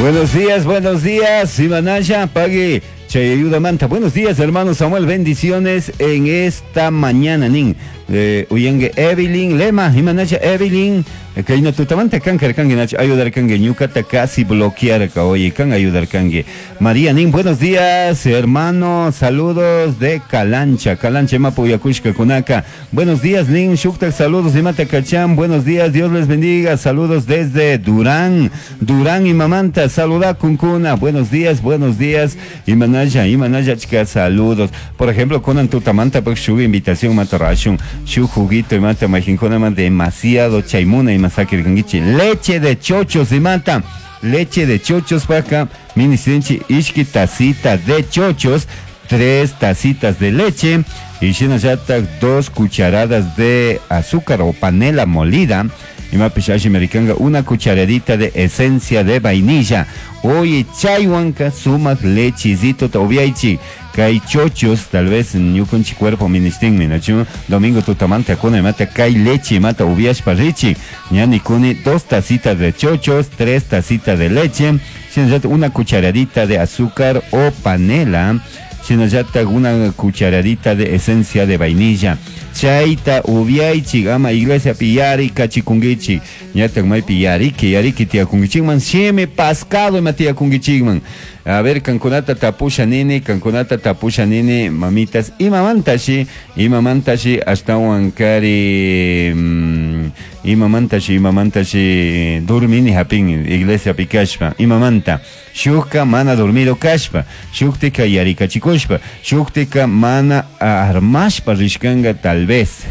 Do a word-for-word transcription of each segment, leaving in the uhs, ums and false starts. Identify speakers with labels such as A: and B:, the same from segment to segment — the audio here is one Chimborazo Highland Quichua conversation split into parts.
A: Buenos días, buenos días, Imanaya, pague. Ayuda manta. Buenos días, hermano Samuel. Bendiciones en esta mañana, nin. Eh, uyangue Evelyn Lema, Imanaya Evelyn. Kayna tutamanta kanka kangue nach ayudar kangue ñukata casi bloquear ka oye kan ayudar kangue. María nin, buenos días, hermano. Saludos de Calancha, Calancha mapu yakushka kunaka. Buenos días, nin, shuktak saludos imata kachan. Buenos días, Dios les bendiga. Saludos desde Durán, Durán y Mamanta. Saluda kunkuna. Buenos días, buenos días. Imanaya, imanaya chica, saludos. Por ejemplo, kunan tutamanta pues shu invitación mata rashun, shu juguito y mata majinkuna demasiado chaimuna y masakirkankichi. Leche de chochos y mata. Leche de chochos paca. Minisinchi ishki tacita de chochos. Tres tacitas de leche. Y shinallata dos cucharadas de azúcar o panela molida. Y mapishashi americanga una cucharadita de esencia de vainilla. Oye, chaywanka sumak lechizito tobiaichi. Kay chochos, tal vez ñukunchi cuerpo ministinmi, nachu domingo tutamanta akuna mata kay leche mata ubiashpa richi. Ñani kuni dos tacitas de chochos, tres tacitas de leche, shinallata una cucharadita de azúcar o panela, shinallata una cucharadita de esencia de vainilla. Chayta ubiaichi ama iglesia piyari kachikungichi ñatak maypi yariki yariki tiyakunkichikman shimi pascado ima tiyakunkichikman. A ver, kankunata tapusha nini, kankunata tapusha nini, mamitas, imamantashi, imamantashi ashtawan kari, mm, imamantashi, imamantashi, durmini hapin, iglesia pikashpa, imamanta, shukka mana dormido kashpa, shuktika yarikachikushpa, shuktika mana armashpa rishkanga tal vez.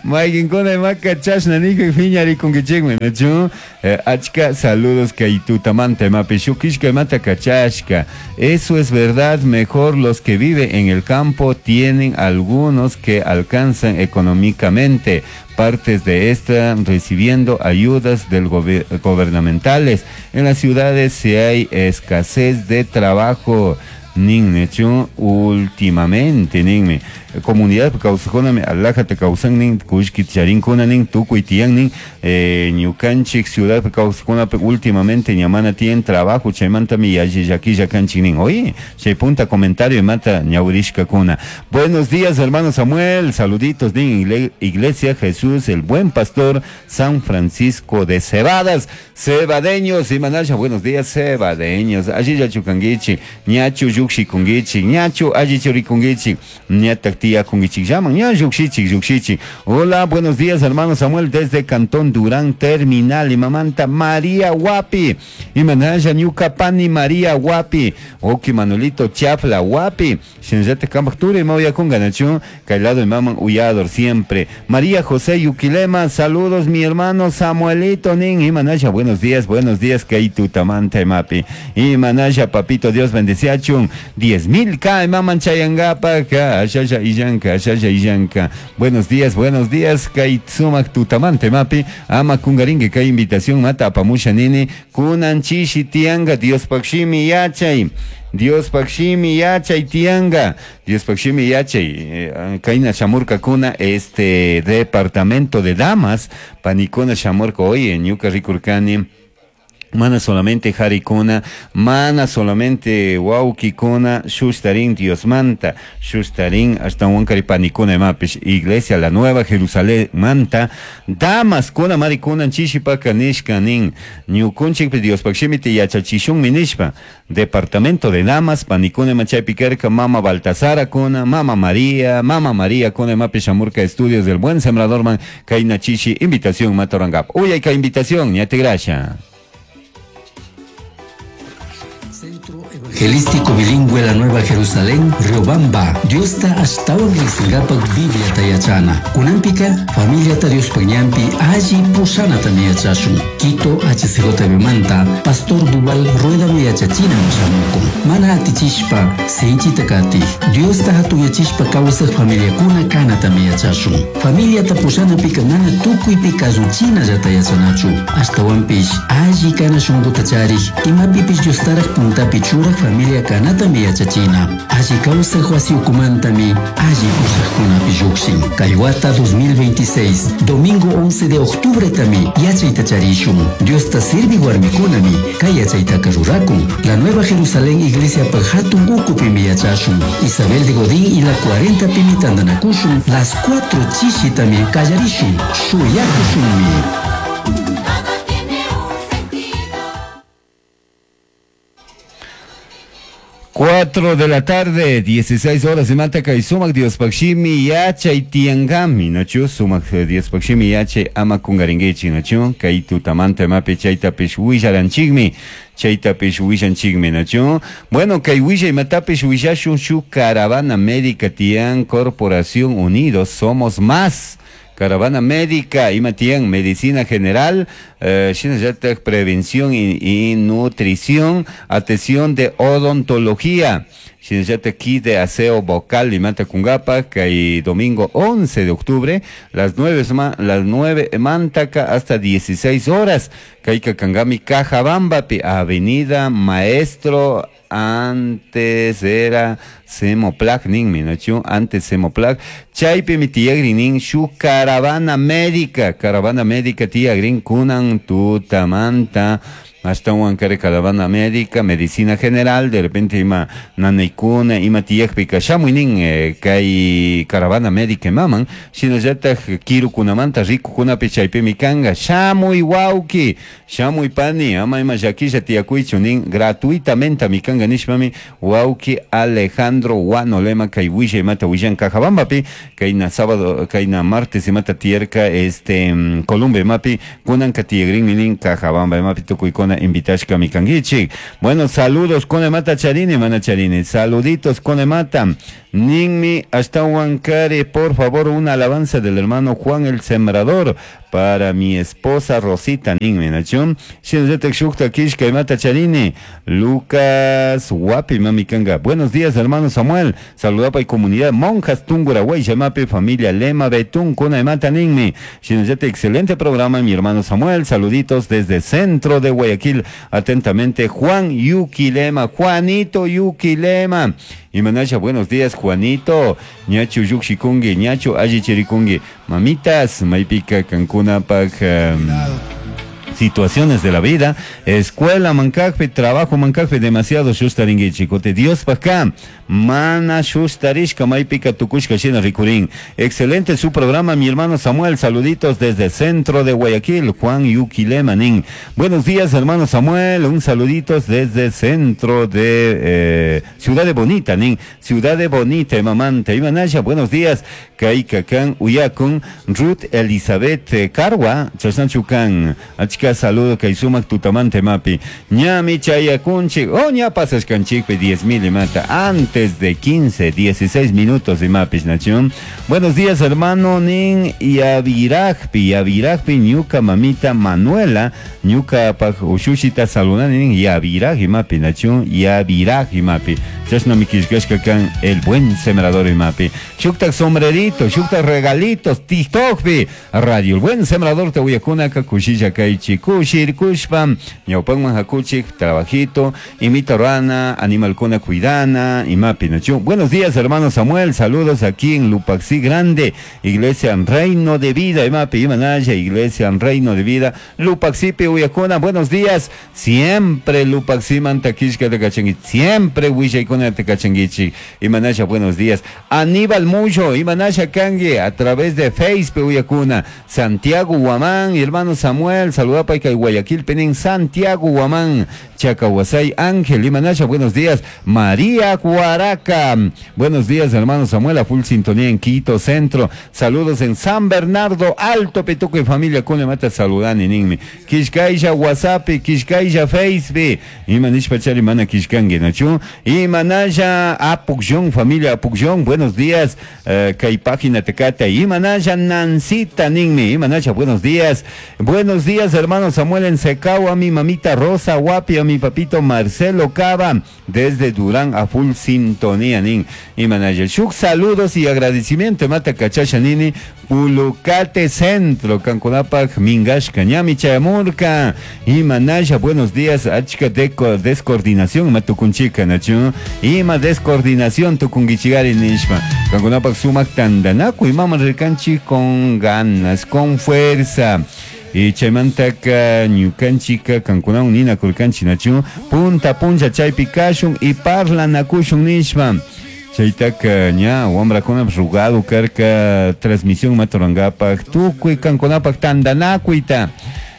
A: Maykinkuna imaka chashna nikuy piñarikunkichikmi, nachu? Eh, achka saludos kay tutamanta imapi shukishka imata kachashka. Eso es verdad, mejor los que viven en el campo tienen algunos que alcanzan económicamente partes de esta recibiendo ayudas del gober- gubernamentales. En las ciudades si hay escasez de trabajo. Nin nechu últimamente ninmi comunidad kawsajkunami alajata kawsan nin kullki charinkuna nin tukuy tiyan nin eh, ñukanchik ciudad kawsajkunapi últimamente ñamana tienen trabajo chaymantami yalli llakilla kanchik nin. Oye, chay punta comentario mata ñawrishkakuna. Buenos días, hermano Samuel, saluditos nin Igle- Iglesia Jesús el Buen Pastor San Francisco de Cebadas, cebadeños y manasha, buenos días cebadeños, allí chukanguichi, ñachu yuxi kunguichi, ñachu alli churikunguichi, ñatak tía kunguichi llaman, ña yuxichi, yuxichi. Hola, buenos días, hermano Samuel, desde Cantón Durán Terminal, y mamanta María Guapi, y manasha ñuka pani María Guapi, oki Manuelito Chafla Guapi, shinllate kambaktura y mauya kunganachu, kailado y maman uyador siempre. María José Yuquilema, saludos mi hermano Samuelito nin, y manasha, buenos días, buenos días, kaitu tamanta mapi, y manasha papito Dios bendeciachun, diez mil K, maman chayangapa, ka, ashasha illanka, ashasha illanka. Buenos días, buenos días, kay sumak tutamante mapi, ama kungaringue kay invitación mata apamusha nini, kunan chishi tianga, Dios pakshimi yachay. Dios pakshimi yachay tianga, Dios pakshimi yachay, eh, kaina shamurka kuna este departamento de damas, panikuna shamurka, oye, ñuka rikurkani, mana solamente harikuna, mana solamente wawkikuna, shustarin Dios manta, shustarin hasta wankari panikuna imapish, Iglesia la Nueva Jerusalén manta, damas kuna marikuna chishipaka nishka nin, ñukunchik Dios pakshimiti yachachishunmi nishpa, departamento de damas, panikuna imachaypi karka, mama Baltasara kuna, mama María, mama María kuna imapish shamurka estudios del Buen Sembrador man, kayna chishi, invitación matorangap. Uy, hay ka invitación, ñate gracia.
B: Evangelístico Bilingüe La Nueva Jerusalén, Riobamba, Diosta ashtawan riqsingapak Biblia tayachana. Kunampika, familiata Dios pañampi, alli pushanata yachashun. Quito H C J B manta, Pastor Duval Rueda yachachina shamuku. Mana atichishpa, sinchita kati. Diosta hatuyachishpa kawsaq familiakuna kanata yachashun. Familiata pushanapika mana tukuypi kasuchina llata yachanachu. Ashtawanpish, alli kana shunquta charik, imapipish Diostaraq puntapi churaq Familia kanatami yachachina. Alli kawsaj wasi ukumantami alli pushakkunapi llukshin. Kay wata dos mil veintiséis, domingo once de octubre tami yachayta charishun. Diosta sirvi warmikunami kay yachaytaka rurakun. La Nueva Jerusalén Iglesia hatun ukupimi yachashun. Isabel de Godín y la cuarenta pimi tandanakushun. Las cuatro chishitami kallarishun. Shuyakushunmi.
C: Todo tiene un sentido.
A: cuatro de la tarde, dieciséis horas, imata kay sumak Diospaj shimi yachay tiangami, nachu? Sumak Diospaj shimi yachay ama kungaringuichi, nachu? Kay tutamanta imapi chaytapish willaranchikmi, chaytapish willanchikmi, nachu? Bueno, kay willay imatapish willashun, shu caravana médica tian, Corporación Unidos Somos Más. Caravana médica, ima tian, medicina general, eh, shinallataj prevención y, y nutrición, atención de odontología. Shinallataj kit de aseo vocal imata kungapa, kay domingo once de octubre, las nueve, las nueve mantaka hasta dieciséis horas. Kayka kangami Cajabambapi, Avenida Maestro, antes era Semoplac, ninmi, nachu? Antes Semoplac. Chaypimi tiyagrin shu caravana médica, caravana médica tiyagrin kunan tutamanta. Ashtawan kare caravana médica, medicina general, de repente ima nanaykuna, ima tiyakpika shamuynin eh, kay caravana médica maman, shinallataj kirukunamanta rikukunapi chaypimi kanga, shamuy wawki, shamuy pani, ama ima llakilla tiyakuychu nin, gratuitamente mi kanga nishpami, wawki Alejandro Huanolema kay willa imata willan Cajabambapi, kayna sábado, kayna martes imata tiyarka este mm, Colombia imapi, kunanka tiyagrinmi nin Cajabamba imapi tukuykuna invitashka mi kanguichik. Bueno, saludos con mata charini, mana charini. Saluditos con mata. Ninmi hasta Huancare, por favor, una alabanza del hermano Juan el Sembrador para mi esposa Rosita ninmi, nachum. Shukta kishka mata charini. Lucas Guapi mami kanga. Buenos días, hermano Samuel. Saludapa y comunidad Monjas Tungurahua, Yamape, familia Lema Betún, Kuna mata ninmi. Shinayate, excelente programa, mi hermano Samuel. Saluditos desde centro de Guayaquil. Atentamente, Juan Yuki Lema, Juanito Yuki Lema. Y Manasha, buenos días, Juanito. Ñachu Yukshikungi, Ñachu Ayichirikungi. Mamitas, Maipika, Cancuna, Pak. Um, situaciones de la vida, escuela mankakpi, trabajo mankakpi, demasiado shustaringuichi, kote Dios paka, mana shustarishka, maypika tukushka shina rikurin. Excelente su programa, mi hermano Samuel, saluditos desde centro de Guayaquil, Juan Yuquilema nin. Buenos días, hermano Samuel, un saluditos desde centro de eh, Ciudad de Bonita, nin, Ciudad de Bonita, mamante, Imanasha, buenos días, Kaikakan, Uyakun, Ruth Elizabeth Carwa, Chasnachukan, achka saludo kay sumak tutamante mapi. Ñami chayakunchik, oh ña pasashkanchikpi diez mil imata, antes de quince, dieciséis minutos imapis nachun. Buenos días, hermano nin Yavirajpi, Yavirajpi, ñuka mamita Manuela, ñuka paj ushushita saludani nin Yaviraj imapi nachun, Yaviraj imapi. Chashna mikishkashka kan el buen sembrador imapi. Shuktak sombrerito, shuktak regalitos, TikTokpi, Radio El Buen Sembrador te uyakuna kushilla kaychi kushir kushpam, ñawpanman hakuchik, trabajito, imita rana, animalkuna cuidana, imapi nachu. Buenos días, hermano Samuel, saludos aquí en Lupaxí Grande, Iglesia en Reino de Vida, imapi, imanaya, Iglesia en Reino de Vida, Lupaxipi uyakuna, buenos días, siempre Lupaxí mantakishka de kachanguichi, siempre willaykuna de kachanguichi, imanaya, buenos días, Aníbal Mucho, imanaya kangue, a través de Facebook uyakuna, Santiago Guamán, hermano Samuel, saluda y Guayaquil, Penín, Santiago Guamán, Chacahuasay, Ángel, Imanasha, buenos días, María Guaraca, buenos días, hermano Samuel, a full sintonía en Quito Centro, saludos en San Bernardo, Alto Petuco y familia, Cune Mata, saludani, ninmi, Kishkaisha, WhatsApp, Kishkaisha, Facebook, Imanish Pachari, Mana Kishkangue, Nachu, Imanasha, Apukyon, familia Apukyon, buenos días, eh, Kay página Tecata, Imanasha, Nancita, ninmi, Imanasha, buenos días, buenos días, hermano hermano Samuel en Secao, a mi mamita Rosa Guapi, a mi papito Marcelo Cava, desde Durán a full sintonía, nin. Y manager, shuk saludos y agradecimiento, mata cachasha nini, Pulucate Centro, Cancunapac, Mingashka, Ñami Chayamurka, y manaya, buenos días, achka deco, descoordinación, matukunchika, nachu, ima descoordinación, tukungichigari nishma, Cancunapac sumak tandanaku, y mama recanchi con ganas, con fuerza. Y chaymantaka ñukanchika kankunawan ninakurkanchik nachu punta puncha chaypi kashun y parlanakushun nishpa chaytaka ña wamrakunapish rugado karka transmisión maturankapak tukuy kankunapak tandanakuyta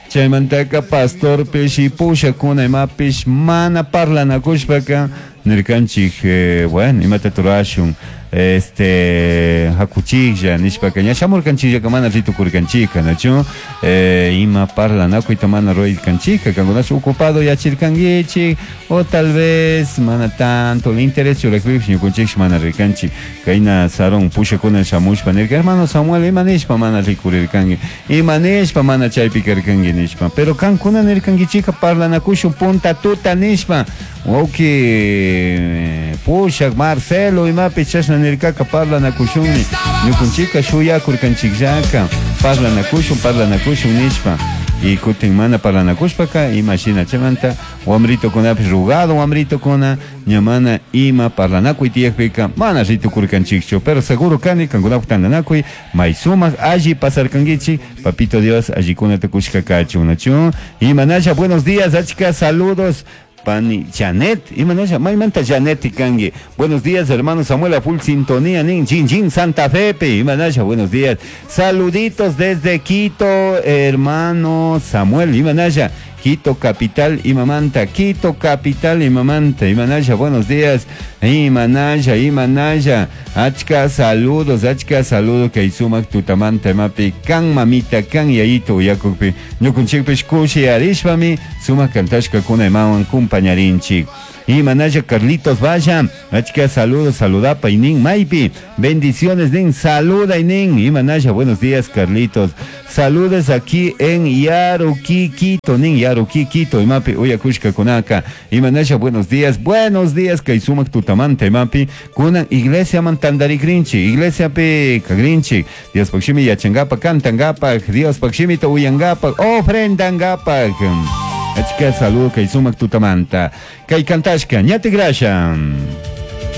A: chaymantaka pastorpish y pushakuna imapish mana parlanakushpaka nirkanchik eh, bueno imata turashun este hakuchiklla nishpaka ña shamurkanchikllaka mana ritukurkanchika nachu eh, ima parlanakuyta mana ruraykanchika kankunash ocupado yachirkankichik o tal vez mana tanto el interés churakpipish ñukunchiksh mana rirkanchik kayna sarón pushakuna shamushpa nirka hermano Samuel ima nishpa mana rikurirkanki ima nishpa mana chaypi karkanki nishpa pero kankuna nirkankichika parlanakushun punta tuta nishpa wawki pushak Marcelo imapi chashna nirkaka parlanakushunmi ñukunchika shuyakurkanchikllaka parlanakushun parlanakushun nishpa y kutin mana parlanakushpaka ima shina chaymanta wamritukunapish rugado wamritukuna ña mana ima parlanakuy tiyakpika mana ritukurkanchikchu pero seguro kani kankunapak tandanakuy may sumak alli pasarkankichik papito Dios allikunata kushka kachun nachu imanasha buenos días achka saludos Pani Janet, imanasha, maymanta Janet ikanki. Buenos días, hermano Samuel, a full sintonía, nin, chin, chin, Santa Fe, imanasha, buenos días. Saluditos desde Quito, hermano Samuel, imanasha. Quito capital imamanta, Quito capital imamanta, imanasha, buenos días, imanasha, imanasha, achka saludos, achka saludos, kay sumak tutamanta imapi, kan mamita, kan yayito uyakukpi, ñukunchikpish kushi arishpami, sumak kantashkakuna imawan kumpañarinchik. Imanasha Carlitos Vaya, achka saludos, saludapa inin maypi, bendiciones nin, saluda inin, imanasha, buenos días Carlitos, saludos aquí en Yaruquí, Quito, nin Yaruquí, Quito, imapi, uyakushka kunaka, imanasha, buenos días, buenos días, kay sumak tutamanta imapi, kunan iglesia man tandarikrinchi, iglesia pi kagrinchi, Dios pakshimi yachangapa, kantangapa, Dios pakshimita uyangapa, ofrendangapa. Achka saludo kay sumak tutamanta. Kay kantashka, ñati grasha.